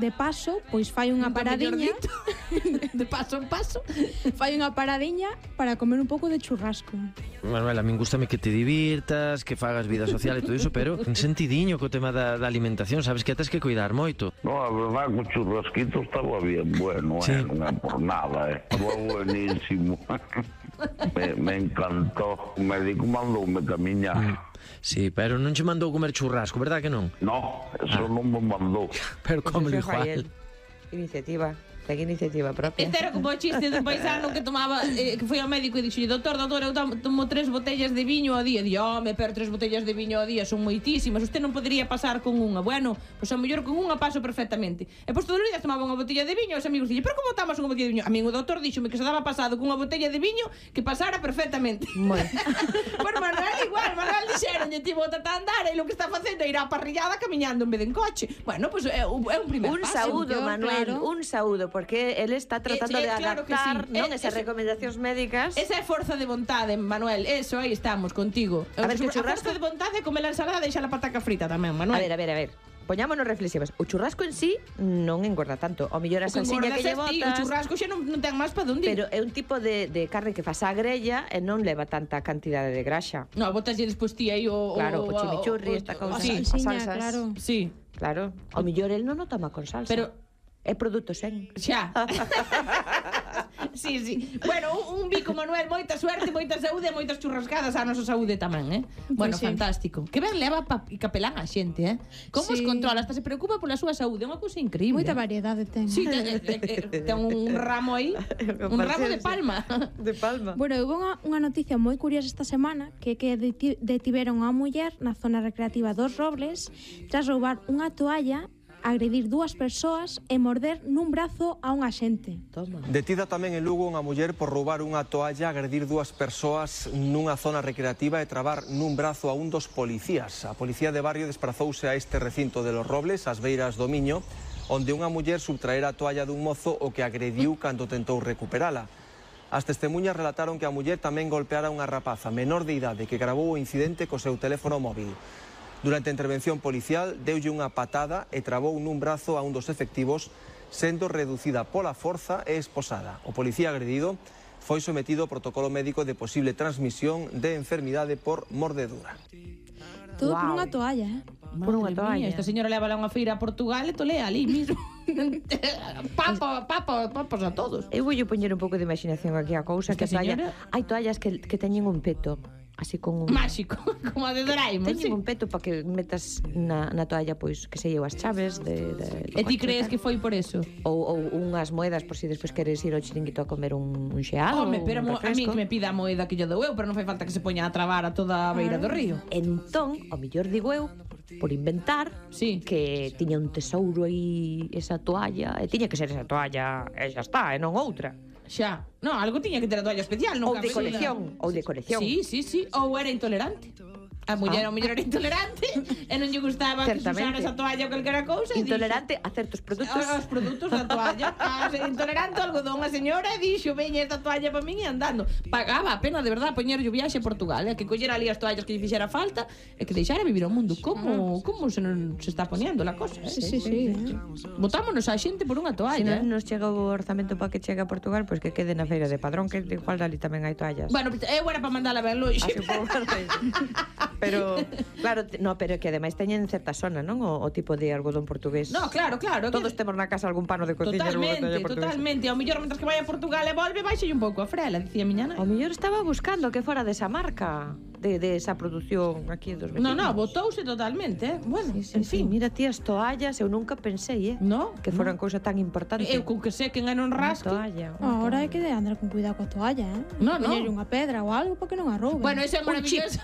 de paso, pois fai unha paradiña. De paso en paso. Fai unha paradiña para comer un pouco de churrasco. Manuel, a min gustame que te divirtas, que fagas vida social e todo iso, pero un sentidiño co tema da alimentación, sabes que tes que cuidar moito. No, a verdad que o churrasquito estaba bien bueno, sí. Non é por nada, estaba buenísimo. me encantó. O médico mandoume camiñar. Sí, pero non che mandou comer churrasco, verdad que non? No, eso non me mandou. Pero como Eso igual. Iniciativa. Ten iniciativa propia. Este era como o chiste dun paisano que tomaba que foi ao médico e dixo: doutor, eu tomo 3 botellas de viño ao día. Dixo: home, pero 3 botellas de viño ao día son moitísimas, usted non podería pasar con unha. Bueno, pois a mellor con unha paso perfectamente. E pois todos os días tomaba unha botella de viño. Os amigos dixen: pero como tomas unha botella de viño? A min o doutor díxome que se daba pasado con unha botella de viño que pasara perfectamente. Moi. Pois Manuel igual, Manuel dixeronlle: ti bota a andar e lo que está facendo é ir á parrillada camiñando en vez de en coche. Bueno, pois é un primer Un paso. saúdo, Manuel, un saúdo, porque él está tratando de claro que adaptar, sí. non, esas recomendacións médicas. Esa é forza de vontade, Manuel. Eso, aí estamos contigo. A ver, que o A churrasco... forza de vontade é comer a ensalada e deixar a pataca frita tamén, Manuel. A ver. Poñámonos reflexivas. O churrasco en sí non engorda tanto. O mellor a salsiña que lle botas... O churrasco xa non ten máis para onde. Pero é un tipo de carne que fas á grella e non leva tanta cantidade de graxa. No, botas despois ti aí o... Claro, o chimichurri, esta cousa. Sí, as salsas. Claro. Sí. Claro. O mellor el non o toma con salsa. Pero... É produto sen. Xa. Sí. Bueno, un bico, Manuel, moita suerte, moita saúde e moitas churrascadas á nosa saúde tamén, Bueno, sí. fantástico. Que ben leva capelán a xente, Como os Sí. controla, hasta se preocupa pola súa saúde, é unha cousa increíble. Moita variedade ten. Sí, ten un ramo aí, un ramo de palma. De palma. Bueno, houve unha noticia moi curiosa esta semana que detiveron a unha muller na zona recreativa dos Robles tras roubar unha toalla, agredir 2 persoas e morder nun brazo a un axente. Toma. Detida tamén en Lugo unha muller por roubar unha toalla, agredir 2 persoas nunha zona recreativa e trabar nun brazo a un dos policías. A policía de barrio desprazouse a este recinto de Los Robles, ás beiras do Miño, onde unha muller subtraera a toalla dun mozo o que agrediu cando tentou recuperala. As testemunhas relataron que a muller tamén golpeara unha rapaza menor de idade que gravou o incidente co seu teléfono móvil. Durante a intervención policial, deulle unha patada e trabou nun brazo a un dos efectivos, sendo reducida pola forza e esposada. O policía agredido foi sometido ao protocolo médico de posible transmisión de enfermidade por mordedura. Todo por unha toalla, Por unha Madre mía, toalla. esta señora leva a unha feira a Portugal e tolea ali mismo. Papos a todos. Eu voulle poñer un pouco de imaginación aquí a cousa. Esta que toalla, señora- hai toallas que teñen un peto, así con un... Máxico, como a de Doraemon, sí. Teñen un peto para que metas na toalla, pois, que se lleva as chaves de E ti crees que foi por eso? ou unhas moedas por si despois queres ir ao chiringuito a comer un xeado. Home, pero un a mí refresco. que me pida a moeda que lle dou eu, pero non fai falta que se poña a trabar a toda a beira do río. Entón, ao mellor digo eu, por inventar, Sí. que tiña un tesouro aí esa toalla, e tiña que ser esa toalla, e xa está, e non outra. Xa. Non, algo tiña que ter a toalla especial, non Ou de colección, ou de colección. Sí. Ou era intolerante. A muller era intolerante e non lle gustaba que se Certamente. usara esa toalla ou calquera cousa. e Intolerante a certos produtos. Os produtos da toalla. Intolerante ao algodón. A señora dixo: veña esta toalla para min e andando. Pagaba a pena, de verdad, poñer o viaxe a Portugal, que collera ali as toallas que lle fixera falta e que deixara vivir o mundo. Como se está poniendo la cosa, Sí. Botámonos a xente por unha Se toalla. non nos chega o orzamento para que chegue a Portugal, pois que quede na feira de Padrón, que igual ali tamén hai toallas. Bueno, eu era para mandala ver longe. Así un pouco pero claro, pero que ademais teñen certa zona, non? O tipo de algodón portugués. No, claro. Todos temos na casa algún pano de cociña. Totalmente. Ao mellor, mentras que vai a Portugal e volve, baixelle un pouco a frela, dicía miña nai. O mellor estaba buscando que fora desa marca, de esa produción aquí dos vecinos. No, botouse totalmente, Bueno, Sí, en fin. mira ti as toallas, eu nunca pensei, No, que foran cousa tan importante. Eu con que sequen e non rasque. toalla. Ahora hai que andar con cuidado coa toalla, No. Poñerlle unha pedra ou algo para que non a rouben. Bueno, eso é maravilloso.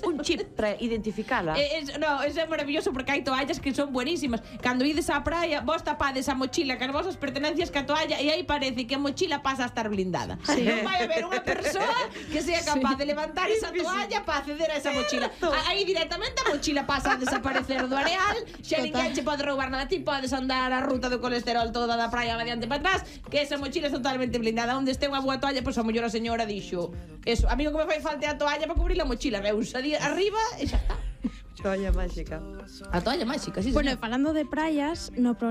Un chip para identificala. Eso é maravilloso porque hai toallas que son buenísimas. Cando ides á praia, vos tapades a mochila con as vosas pertenencias ca toalla e aí parece que a mochila pasa a estar blindada. Non vai haber unha persoa que sea capaz de levantar esa toalla para acceder a esa mochila. Aí directamente a mochila pasa a desaparecer do areal, xa ninguén che pode roubar nada. Ti podes andar a ruta do colesterol toda da praia adiante para atrás, que esa mochila é totalmente blindada. Onde este unha boa toalla, pois a mellor a señora dixo: eso, a mí o que me fai falta é a toalla para cubrir a mochila. Veus arriba e xa está. Toalla máxica. A toalla máxica, sí, Bueno, señor. e falando de praias, no programa